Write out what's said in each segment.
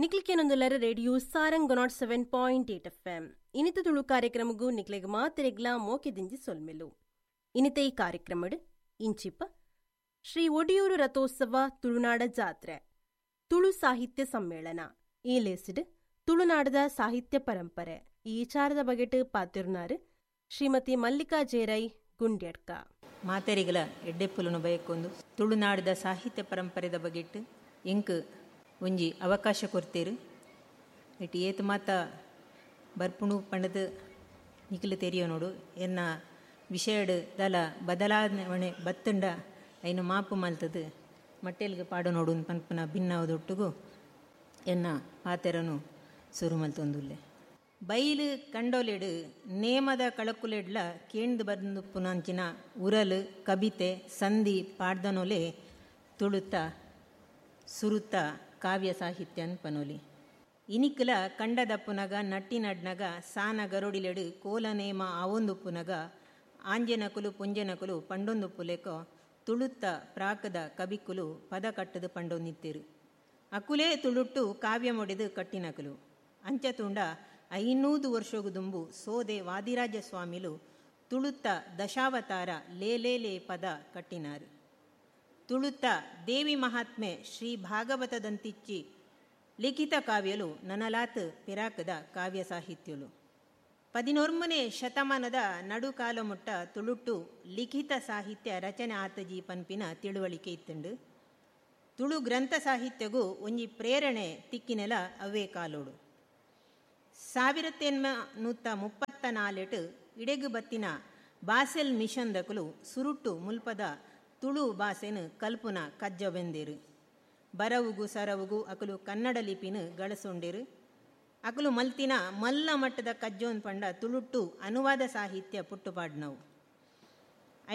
ನಿಕ್ಲಿಕೇನೊಂದುಲ್ಲರ radio Sarang 107.8 FM. ಇನಿತ ತುಳು ಕಾರ್ಯಕ್ರಮಗೂ ನಿಕ್ಲೆಗ್ ಮಾತೆರೆಗ್ಲಾ ಮೋಕೆ ದಿಂಜಿ ಸೊಲ್ಮೆಲು. ಇನಿತ ಈ ಕಾರ್ಯಕ್ರಮಡ್ ಇಂಚಿಪ ಶ್ರೀ ಒಡಿಯೂರು ರಥೋತ್ಸವ ತುಳುನಾಡ ಜಾತ್ರೆ ತುಳು ಸಾಹಿತ್ಯ ಸಮ್ಮೇಳನ ಈ ಲೇಸಿಡ್ ತುಳುನಾಡದ ಸಾಹಿತ್ಯ ಪರಂಪರೆ ಈ ವಿಚಾರದ ಬಗೆಟ್ ಪಾತಿರುನಾರು ಶ್ರೀಮತಿ ಮಲ್ಲಿಕಾ ಜೇರೈ ಗುಂಡ್ಯಡ್ಕ. ಮಾತೆರಿಗಲ ಎಡ್ಡೆಪ್ಪುಲನು ಬಯಕೊಂದು ತುಳುನಾಡದ ಸಾಹಿತ್ಯ ಪರಂಪರೆದ ಬಗೆಟ್ ಇಂಕ್ ಒಂಜಿ ಅವಕಾಶ ಕೊರ್ತೀರು. ಇಟ್ಟು ಏತು ಮಾತ ಬರ್ಪುಣು ಪಂಡದು ನಿಖಲು ತೆರಿಯೋ ನೋಡು. ಎನ್ನ ವಿಷಯಡ್ ದಲ ಬದಲಾವಣೆ ಬತ್ತಂಡ ಐನು ಮಾಪು ಮಲ್ತದು ಮಟ್ಟೆಲ್ಗೆ ಪಾಡು ನೋಡು ಪನ್ಪುನ ಭಿನ್ನವದೊಟ್ಟುಗು ಎನ್ನ ಪಾತೆರನು ಸುರು ಮಲ್ತೊಂದುಲ್ಲೆ. ಬೈಲು ಕಂಡೋಲೆಡು ನೇಮದ ಕಳಕುಲೆಡ್ಲ ಕೇಂದು ಬಂದು ಪುನಂಚಿನ ಉರಲು ಕಬಿತೆ ಸಂಧಿ ಪಾಡ್ದನೊಲೆ ತುಳುತ್ತ ಸುರುತ್ತ ಕಾವ್ಯ ಸಾಹಿತ್ಯನ್ ಪನೊಲಿ. ಇನಿಕ್ಲ ಕಂಡದಪ್ಪುನಗ ನಟ್ಟಿ ನಡ್ನಗ ಸಾನ ಗರೋಡಿಲೆಡು ಕೋಲ ನೇಮ ಆವೊಂದುಪ್ಪುನಗ ಆಂಜನಕುಲು ಪುಂಜನಕುಲು ಪಂಡೊಂದು ಪುಲೆಕೋ ತುಳುತ್ತ ಪ್ರಾಕದ ಕಬಿಕುಲು ಪದ ಕಟ್ಟದು ಪಂಡೊಂದಿತ್ತಿರು. ಅಕುಲೇ ತುಳುಟ್ಟು ಕಾವ್ಯ ಮೊಡೆದು ಕಟ್ಟಿನಕುಲು. ಅಂಚತುಂಡ 500 ವರ್ಷಗು ದುಂಬು ಸೋದೆ ವಾದಿರಾಜ ಸ್ವಾಮಿಲು ತುಳುತ್ತ ದಶಾವತಾರ ಲೇಲೇಲೇ ಪದ ಕಟ್ಟಿನಾರು. ತುಳುತ್ತ ದೇವಿ ಮಹಾತ್ಮೆ ಶ್ರೀ ಭಾಗವತದಂತಿಚ್ಚಿ ಲಿಖಿತ ಕಾವ್ಯಲು ನನಲಾತ್ ಪಿರಾಕದ ಕಾವ್ಯ ಸಾಹಿತ್ಯಲು. 11ನೇ ಶತಮಾನದ ನಡುಕಾಲ ಮುಟ್ಟ ತುಳುಟ್ಟು ಲಿಖಿತ ಸಾಹಿತ್ಯ ರಚನೆ ಆತಜಿ ಪನ್ಪಿನ ತಿಳುವಳಿಕೆ ಇತ್ತುಂಡು. ತುಳು ಗ್ರಂಥ ಸಾಹಿತ್ಯಗೂ ಒಂಜಿ ಪ್ರೇರಣೆ ತಿಕ್ಕಿನೆಲ ಅವೇ ಕಾಲೋಡು. 1834 ಇಡೆಗು ಬತ್ತಿನ ಬಾಸೆಲ್ ಮಿಷನ್ ದಕಲು ಸುರುಟ್ಟು ಮುಲ್ಪದ ತುಳು ಬಾಸೆನು ಕಲ್ಪುನ ಕಜ್ಜವೆಂದಿರು. ಬರವುಗು ಸರವುಗು ಅಕಲು ಕನ್ನಡ ಲಿಪಿನ ಗಳಸೊಂಡಿರು. ಅಕಲು ಮಲ್ತಿನ ಮಲ್ಲ ಮಟ್ಟದ ಕಜ್ಜೋನ್ ಪಂಡ ತುಳುಟ್ಟು ಅನುವಾದ ಸಾಹಿತ್ಯ ಪುಟ್ಟುಪಾಡ್ನವು.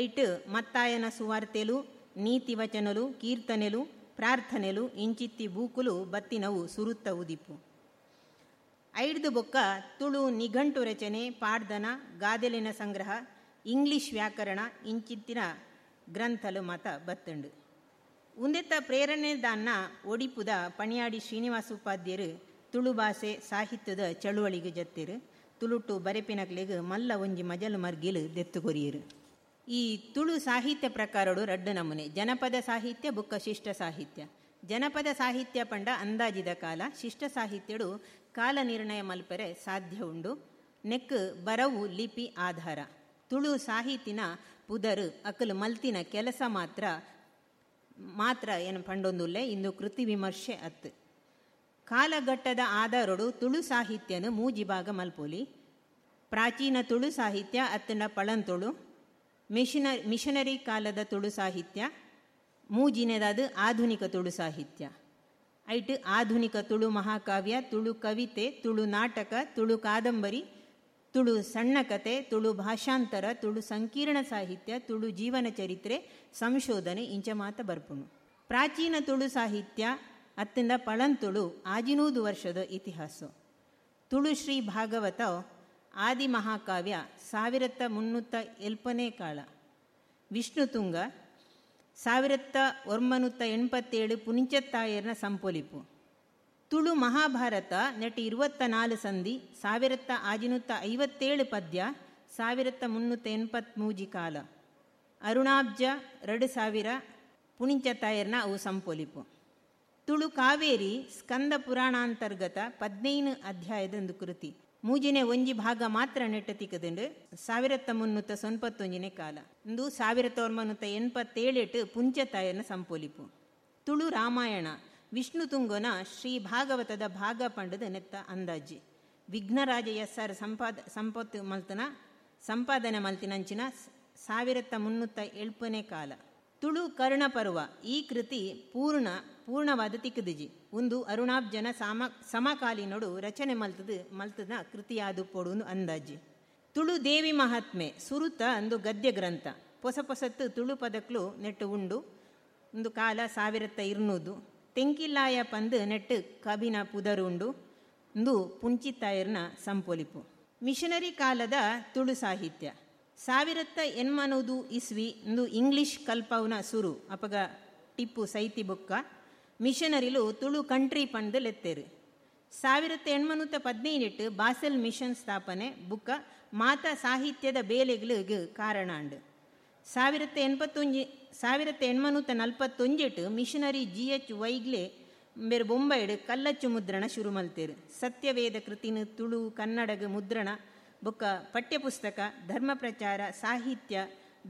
ಐಟ್ ಮತ್ತಾಯನ ಸುವಾರ್ತೆಲು, ನೀತಿ ವಚನಲು, ಕೀರ್ತನೆಲು, ಪ್ರಾರ್ಥನೆಲು ಇಂಚಿತ್ತಿ ಬೂಕುಲು ಬತ್ತಿನವು ಸುರುತ್ತ ಉದಿಪು. ಐಡ್ದು ಬೊಕ್ಕ ತುಳು ನಿಘಂಟು ರಚನೆ, ಪಾಡ್ದನ, ಗಾದೆಲಿನ ಸಂಗ್ರಹ, ಇಂಗ್ಲಿಷ್ ವ್ಯಾಕರಣ ಇಂಚಿತ್ತಿನ ಗ್ರಂಥಲು ಮತ ಬತ್ತಂಡು. ಉಂದೆತ್ತ ಪ್ರೇರಣೆ ದಾನ್ನ ಒಡಿಪುದ ಪಣಿಯಾಡಿ ಶ್ರೀನಿವಾಸ ಉಪಾಧ್ಯರು ತುಳು ಭಾಷೆ ಸಾಹಿತ್ಯದ ಚಳುವಳಿಗೆ ಜತ್ತಿರು. ತುಳುಟು ಬರೆಪಿನಕ್ಲೆಗ್ ಮಲ್ಲ ಒಂಜಿ ಮಜಲು ಮರ್ಗಿಲು ದೆತ್ತುಕೊರಿಯರು. ಈ ತುಳು ಸಾಹಿತ್ಯ ಪ್ರಕಾರಡು ರಡ್ಡು ನಮೂನೆ: ಜನಪದ ಸಾಹಿತ್ಯ ಬುಕ್ಕ ಶಿಷ್ಟ ಸಾಹಿತ್ಯ. ಜನಪದ ಸಾಹಿತ್ಯ ಪಂಡ ಅಂದಾಜಿದ ಕಾಲ, ಶಿಷ್ಟ ಸಾಹಿತ್ಯಡು ಕಾಲ ನಿರ್ಣಯ ಮಲ್ಪೆರೆ ಸಾಧ್ಯ ಉಂಡು. ನೆಕ್ ಬರವು ಲಿಪಿ ಆಧಾರ. ತುಳು ಸಾಹಿತಿನ ಪುದರು ಅಕಲು ಮಲ್ತಿನ ಕೆಲಸ ಮಾತ್ರ ಮಾತ್ರ ಏನು ಪಂಡೊಂದುಲ್ಲೆ ಇಂದು ಕೃತಿ ವಿಮರ್ಶೆ ಅತ್ತು. ಕಾಲಘಟ್ಟದ ಆಧಾರಡು ತುಳು ಸಾಹಿತ್ಯನು ಮೂಜಿ ಭಾಗ ಮಲ್ಪೋಲಿ: ಪ್ರಾಚೀನ ತುಳು ಸಾಹಿತ್ಯ ಅತ್ತಂಡ ಪಳಂತುಳು, ಮಿಷನರಿ ಕಾಲದ ತುಳು ಸಾಹಿತ್ಯ, ಮೂಜಿನೇದಾದ ಆಧುನಿಕ ತುಳು ಸಾಹಿತ್ಯ. ಐಟ್ ಆಧುನಿಕ ತುಳು ಮಹಾಕಾವ್ಯ, ತುಳು ಕವಿತೆ, ತುಳು ನಾಟಕ, ತುಳು ಕಾದಂಬರಿ, ತುಳು ಸಣ್ಣ ಕತೆ, ತುಳು ಭಾಷಾಂತರ, ತುಳು ಸಂಕೀರ್ಣ ಸಾಹಿತ್ಯ, ತುಳು ಜೀವನ ಚರಿತ್ರೆ ಸಂಶೋಧನೆ ಇಂಚ ಮಾತ ಬರ್ಪುಣು. ಪ್ರಾಚೀನ ತುಳು ಸಾಹಿತ್ಯ ಅತ್ತಿಂದ ಪಳಂತುಳು 500 ವರ್ಷದ ಇತಿಹಾಸ. ತುಳು ಶ್ರೀ ಭಾಗವತ ಆದಿ ಮಹಾಕಾವ್ಯ 1308ನೇ ಕಾಲ, ವಿಷ್ಣುತುಂಗ 1987 ಪುನಿಂಚತ್ತಾಯರ್ನ ಸಂಪೊಲಿಪು, ತುಳು ಮಹಾಭಾರತ ನೆಟ್ 24 ಸಂಧಿ 1657 ಪದ್ಯ 1383 ಕಾಲ, ಅರುಣಾಬ್ಜ 2000 ಪುಣಿಂಚತ್ತಾಯರ್ನ ಅವು ಸಂಪೊಲಿಪು. ತುಳು ಕಾವೇರಿ ಸ್ಕಂದ ಪುರಾಣಾಂತರ್ಗತ 15 ಅಧ್ಯಾಯದೊಂದು ಕೃತಿ, ಮೂಜಿನೇ ಒಂಜಿ ಭಾಗ ಮಾತ್ರ ನೆಟ್ಟ ತಿಕ್ಕದುಂಡು 1391ನೇ ಕಾಲ, ಇಂದು 1987 ಪುಂಚತಾಯನ ಸಂಪೊಲಿಪು. ತುಳು ರಾಮಾಯಣ ವಿಷ್ಣು ತುಂಗನ ಶ್ರೀ ಭಾಗವತದ ಭಾಗ ಪಂಡದ ನೆತ್ತ ಅಂದಾಜಿ. ವಿಘ್ನರಾಜ ಎಸ್ ಆರ್ ಸಂಪತ್ತು ಮಲ್ತನ ಸಂಪಾದನೆ ಮಲ್ತಿನಂಚಿನ 1307ನೇ ಕಾಲ. ತುಳು ಕರ್ಣಪರ್ವ ಈ ಕೃತಿ ಪೂರ್ಣವಾದ ತಿಕ್ಕದಿಜಿ. ಒಂದು ಅರುಣಾಬ್ಜನ ಸಮಕಾಲೀನೋಡು ರಚನೆ ಮಲ್ತದ ಕೃತಿಯಾದು ಪೊಡು ಅಂದಾಜಿ. ತುಳು ದೇವಿ ಮಹಾತ್ಮೆ ಸುರುತ ಅಂದು ಗದ್ಯ ಗ್ರಂಥ. ಪೊಸ ಪೊಸತ್ತು ತುಳು ಪದಕ್ಲು ನೆಟ್ಟು ಉಂಡು. ಒಂದು ಕಾಲ 1200. ತೆಂಕಿಲ್ಲಾಯ ಪಂದು ನೆಟ್ಟು ಕಬಿನ ಪುದರು ಉಂಡು. ಒಂದು ಪುಂಚಿತ್ತಾಯರ್ನ ಸಂಪೊಲಿಪು. ಮಿಷನರಿ ಕಾಲದ ತುಳು ಸಾಹಿತ್ಯ 1800 ಇಸ್ವಿ ಇಂದು ಇಂಗ್ಲಿಷ್ ಕಲ್ಪವನ ಸುರು. ಅಪಗ ಟಿಪ್ಪು ಸೈತಿ ಬುಕ್ಕ ಮಿಷನರಿಲು ತುಳು ಕಂಟ್ರಿ ಪಂದು ಲೆತ್ತೇರು. 1815 ಬಾಸೆಲ್ ಮಿಷನ್ ಸ್ಥಾಪನೆ ಬುಕ್ಕ ಮಾತಾ ಸಾಹಿತ್ಯದ ಬೇಲೆಗಳಿಗೆ ಕಾರಣ ಅಂಡು. 1841 ಮಿಷನರಿ ಜಿ.ಎಚ್. ವೈಗ್ಲೆ ಬೇರೆ ಬೊಂಬೈಡ್ ಕಲ್ಲಚ್ಚು ಮುದ್ರಣ ಶುರು ಮಲ್ತೇರು. ಸತ್ಯವೇದ ಕೃತಿನ ತುಳು ಕನ್ನಡಗ ಮುದ್ರಣ ಬೊಕ್ಕ ಪಠ್ಯಪುಸ್ತಕ, ಧರ್ಮ ಪ್ರಚಾರ, ಸಾಹಿತ್ಯ,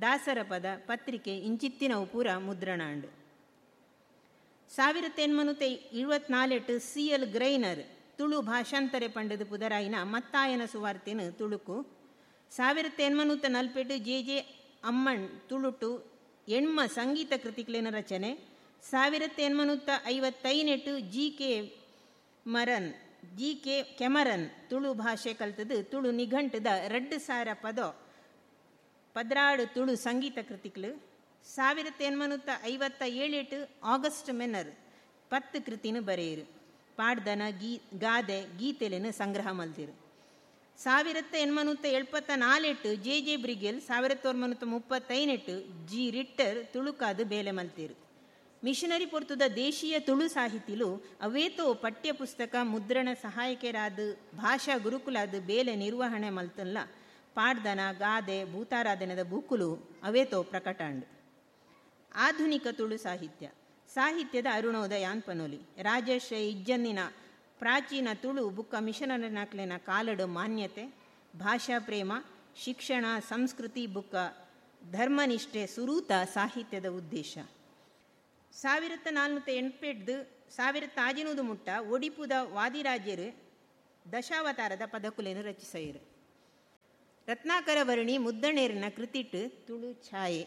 ದಾಸರ ಪದ, ಪತ್ರಿಕೆ ಇಂಚಿತ್ತಿನವು ಪೂರ ಮುದ್ರಣ ಅಂಡು. 1824 ಸಿ.ಎಲ್. ಗ್ರೈನರ್ ತುಳು ಭಾಷಾಂತರೆ ಪಂಡದು ಪುದರಾಯಿನ ಮತ್ತಾಯನ ಸುವಾರ್ತೆನು ತುಳುಕು. 1848 ಜೆ.ಜೆ. ಅಮ್ಮಣ್ ತುಳುಟು ಎಣ್ಮ ಸಂಗೀತ ಕೃತಿಕ್ಲೇನ ರಚನೆ. 1858 ಜಿ.ಕೆ. ಕೆಮರನ್ ತುಳು ಭಾಷೆ ಕಲ್ತದು ತುಳು ನಿಘಂಟದ 2000 ಪದೋ 16 ತುಳು ಸಂಗೀತ ಕೃತಿಕ್ಲು. 1857 ಆಗಸ್ಟ್ ಮೆನ್ನರ್ 10 ಕೃತಿನ ಬರೆಯರು. ಪಾಡ್ದನ, ಗಾದೆ, ಗೀತೆಲೆನು ಸಂಗ್ರಹ ಮಲ್ದಿರು. 1874 ಜೆ.ಜೆ. ಬ್ರಿಗೆಲ್, 1938 ಜಿ. ರಿಟ್ಟರ್ ತುಳುಕಾದು ಬೇಲೆ ಮಲ್ತಿರು. ಮಿಷನರಿ ಪೊರ್ತುದ ದೇಶೀಯ ತುಳು ಸಾಹಿತಿಲು ಅವೇತೋ ಪಠ್ಯಪುಸ್ತಕ ಮುದ್ರಣ ಸಹಾಯಕರಾದ ಭಾಷಾ ಗುರುಕುಲಾದ ಬೇಲೆ ನಿರ್ವಹಣೆ ಮಲ್ತಲ್ಲ ಪಾಡ್ದನ, ಗಾದೆ, ಭೂತಾರಾಧನೆದ ಬೂಕುಲು ಅವೇತೋ ಪ್ರಕಟಾಂಡು. ಆಧುನಿಕ ತುಳು ಸಾಹಿತ್ಯ ಸಾಹಿತ್ಯದ ಅರುಣೋದಯ ಅನ್ಪನೋಲಿ. ರಾಜಶ್ರೀ ಇಜ್ಜನ್ನಿನ ಪ್ರಾಚೀನ ತುಳು ಬುಕ್ಕ ಮಿಷನರಿನಾಕ್ಲೆನ ಕಾಲಡು ಮಾನ್ಯತೆ, ಭಾಷಾ ಪ್ರೇಮ, ಶಿಕ್ಷಣ, ಸಂಸ್ಕೃತಿ ಬುಕ್ಕ ಧರ್ಮನಿಷ್ಠೆ ಸುರೂತ ಸಾಹಿತ್ಯದ ಉದ್ದೇಶ. 1488 1500 ಮುಟ್ಟ ಒಡಿಪುದ ವಾದಿರಾಜ್ಯರು ದಶಾವತಾರದ ಪದಕುಲೆಯನ್ನು ರಚಿಸೈರು. ರತ್ನಾಕರವರ್ಣಿ ಮುದ್ದಣೇರಿನ ಕೃತಿಟ್ಟು ತುಳು ಛಾಯೆ,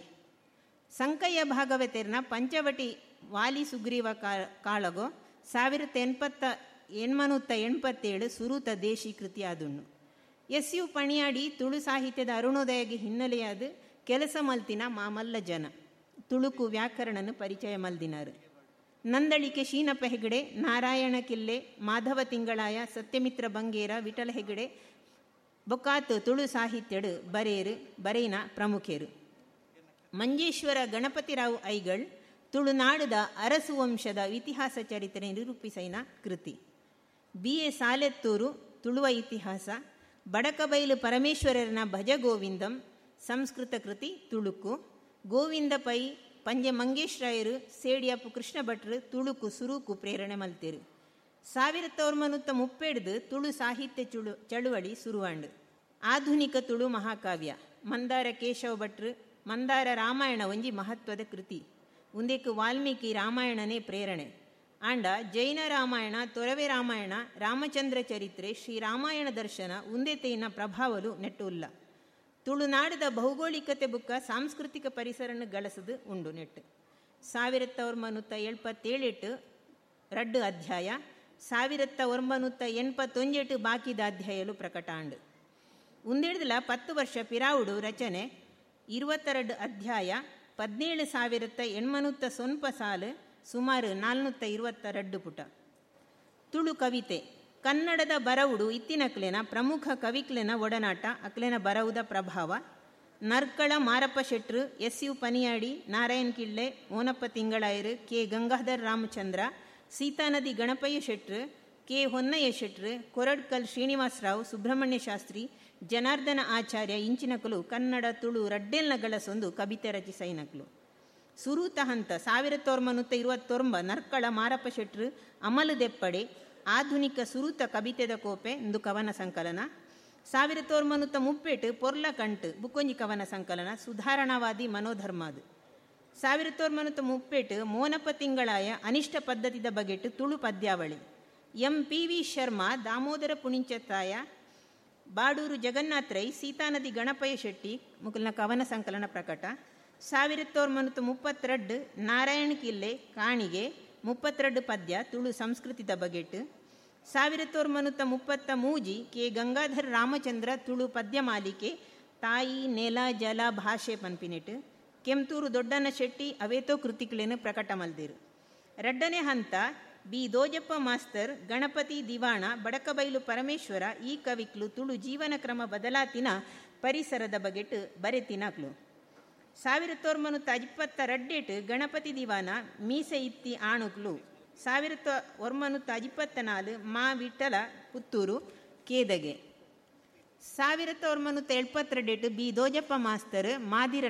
ಸಂಕಯ್ಯ ಭಾಗವತೇರ್ನ ಪಂಚವಟಿ ವಾಲಿ ಸುಗ್ರೀವ ಕಾಳಗೋ 1887 ಸುರೂತ ದೇಶಿ ಕೃತಿ ಆದುಣ್ಣು. ಎಸ್.ಯು. ಪಣಿಯಾಡಿ ತುಳು ಸಾಹಿತ್ಯದ ಅರುಣೋದಯಗೆ ಹಿನ್ನೆಲೆಯಾದ ಕೆಲಸ ಮಲ್ತಿನ ಮಾಮಲ್ಲ ಜನ ತುಳುಕು ವ್ಯಾಕರಣನು ಪರಿಚಯ ಮಲ್ದಿನಾರು. ನಂದಳಿಕೆ ಶೀನಪ್ಪ ಹೆಗಡೆ, ನಾರಾಯಣ ಕಿಲ್ಲೆ, ಮಾಧವ ತಿಂಗಳಾಯ, ಸತ್ಯಮಿತ್ರ ಬಂಗೇರ, ವಿಠಲ ಹೆಗಡೆ ಬೊಕ್ಕಾತು ತುಳು ಸಾಹಿತ್ಯಡು ಬರೇರು ಬರೇನ ಪ್ರಮುಖರು. ಮಂಜೇಶ್ವರ ಗಣಪತಿರಾವ್ ಐಗಳ್ ತುಳುನಾಡದ ಅರಸು ವಂಶದ ಇತಿಹಾಸ ಚರಿತ್ರೆ ನಿರೂಪಿಸೈನ ಕೃತಿ. ಬಿ.ಎ. ಸಾಲೆತ್ತೂರು ತುಳುವ ಇತಿಹಾಸ, ಬಡಕಬೈಲು ಪರಮೇಶ್ವರನ ಭಜಗೋವಿಂದಂ ಸಂಸ್ಕೃತ ಕೃತಿ ತುಳುಕು, ಗೋವಿಂದ ಪೈ, ಪಂಜೆ ಮಂಗೇಶ್ ರಾಯರು, ಸೇಡಿಯಪ್ಪು ಕೃಷ್ಣ ಭಟ್ರು ತುಳುಕು ಸುರುಕು ಪ್ರೇರಣೆ ಮಲ್ತಿರು. 1937 ತುಳು ಸಾಹಿತ್ಯ ಚಳುವಳಿ ಸುರುವಾಂಡು. ಆಧುನಿಕ ತುಳು ಮಹಾಕಾವ್ಯ ಮಂದಾರ ಕೇಶವ ಭಟ್ರು ಮಂದಾರ ರಾಮಾಯಣ ಒಂಜಿ ಮಹತ್ವದ ಕೃತಿ. ಉಂದೆಕ್ ವಾಲ್ಮೀಕಿ ರಾಮಾಯಣನೇ ಪ್ರೇರಣೆ. ಆಂಡ ಜೈನ ರಾಮಾಯಣ, ತೊರವೆ ರಾಮಾಯಣ, ರಾಮಚಂದ್ರ ಚರಿತ್ರೆ, ಶ್ರೀರಾಮಾಯಣ ದರ್ಶನ ಉಂದೆತೈನ ಪ್ರಭಾವಲು ನೆಟ್ಟು ಉಲ್ಲ. ತುಳುನಾಡದ ಭೌಗೋಳಿಕತೆ ಬುಕ್ಕ ಸಾಂಸ್ಕೃತಿಕ ಪರಿಸರನ್ನು ಗಳಸದು ಉಂಡು ನೆಟ್ಟು. 1977 ರಡ್ಡು ಅಧ್ಯಾಯ, 1981 ಬಾಕಿದ ಅಧ್ಯಾಯಲು ಪ್ರಕಟ ಆಂಡು. ಉಂದೆಡ್ದಲ 10 ವರ್ಷ ಪಿರಾವುಡು ರಚನೆ, 22 ಅಧ್ಯಾಯ, 17,800 ಸಾಲು, ಸುಮಾರು 422 ಪುಟ. ತುಳು ಕವಿತೆ ಕನ್ನಡದ ಬರವುಡು ಇತ್ತಿನಕ್ಲೆನ ಪ್ರಮುಖ ಕವಿಕ್ಲೆನ ಒಡನಾಟ, ಅಕ್ಲೆನ ಬರವುದ ಪ್ರಭಾವ. ನರ್ಕಳ ಮಾರಪ್ಪ ಶೆಟ್ರು, ಎಸ್.ಯು. ಪನಿಯಾಡಿ, ನಾರಾಯಣ್ ಕಿಳ್ಳೆ, ಮೋನಪ್ಪ ತಿಂಗಳಾಯರು, ಕೆ. ಗಂಗಾಧರ್ ರಾಮಚಂದ್ರ, ಸೀತಾನದಿ ಗಣಪಯ್ಯ ಶೆಟ್ರು, ಕೆ. ಹೊನ್ನಯ್ಯ ಶೆಟ್ರು, ಕೊರಡ್ಕಲ್ ಶ್ರೀನಿವಾಸರಾವ್, ಸುಬ್ರಹ್ಮಣ್ಯ ಶಾಸ್ತ್ರಿ, ಜನಾರ್ದನ ಆಚಾರ್ಯ ಇಂಚಿನಕಲು ಕನ್ನಡ ತುಳು ರಡ್ಡೆಲ್ನ ಗಳಸೊಂದು ಕವಿತೆ ರಚಿಸೈನಕ್ಲು. ಸುರೂತ ಹಂತ 1929 ನರ್ಕಳ ಮಾರಪ್ಪ ಶೆಟ್ರು ಅಮಲು ದೆಪ್ಪಡೆ ಆಧುನಿಕ ಸುರೂತ ಕವಿತೆದ ಕೋಪೆ ಇಂದು ಕವನ ಸಂಕಲನ. 1938 ಪೊರ್ಲ ಕಂಟು ಬುಕ್ಕೊಂಜಿ ಕವನ ಸಂಕಲನ ಸುಧಾರಣಾವಾದಿ ಮನೋಧರ್ಮಾದು. 1938 ಮೋನಪ್ಪ ತಿಂಗಳಾಯ ಅನಿಷ್ಟ ಪದ್ಧತಿದ ಬಗೆಟ್ ತುಳು ಪದ್ಯಾವಳಿ. ಎಂ.ಪಿ.ವಿ. ಶರ್ಮಾ, ದಾಮೋದರ ಪುಣಿಂಚತ್ತಾಯ, ಬಾಡೂರು ಜಗನ್ನಾಥ ರೈ, ಸೀತಾನದಿ ಗಣಪಯ್ಯ ಶೆಟ್ಟಿ ಮುಕುಲ್ನ ಕವನ ಸಂಕಲನ ಪ್ರಕಟ. 1932 ನಾರಾಯಣ ಕಿಲ್ಲೆ ಕಾಣಿಗೆ 32 ಪದ್ಯ ತುಳು ಸಂಸ್ಕೃತಿದ ಬಗೆಟ್. 1933 ಕೆ. ಗಂಗಾಧರ ರಾಮಚಂದ್ರ ತುಳು ಪದ್ಯ ಮಾಲಿಕೆ ತಾಯಿ ನೆಲ ಜಲ ಭಾಷೆ ಪನ್ಪಿನೆಟ್. ಕೆಂತೂರು ದೊಡ್ಡನ ಶೆಟ್ಟಿ ಅವೇತೋ ಕೃತಿಕ್ಲೇನು ಪ್ರಕಟ ಮಲ್ದಿರು. ರಡ್ಡನೇ ಹಂತ ಬಿ. ದೋಜಪ್ಪ ಮಾಸ್ತರ್, ಗಣಪತಿ ದಿವಾಣ, ಬಡಕಬೈಲು ಪರಮೇಶ್ವರ ಈ ಕವಿಕ್ಲು ತುಳು ಜೀವನ ಕ್ರಮ ಬದಲಾತಿನ ಪರಿಸರದ ಬಗೆಟ್ ಬರೆತಿನಕ್ಲು. 1922 ಗಣಪತಿ ದಿವಾನ ಮೀಸೆ ಇತ್ತಿ ಆಣುಕ್ಲು. 1924 ಮಾ ವಿಠಲ ಪುತ್ತೂರು ಕೇದಗೆ. 1972 B Dojappa master ಮಾದಿರ.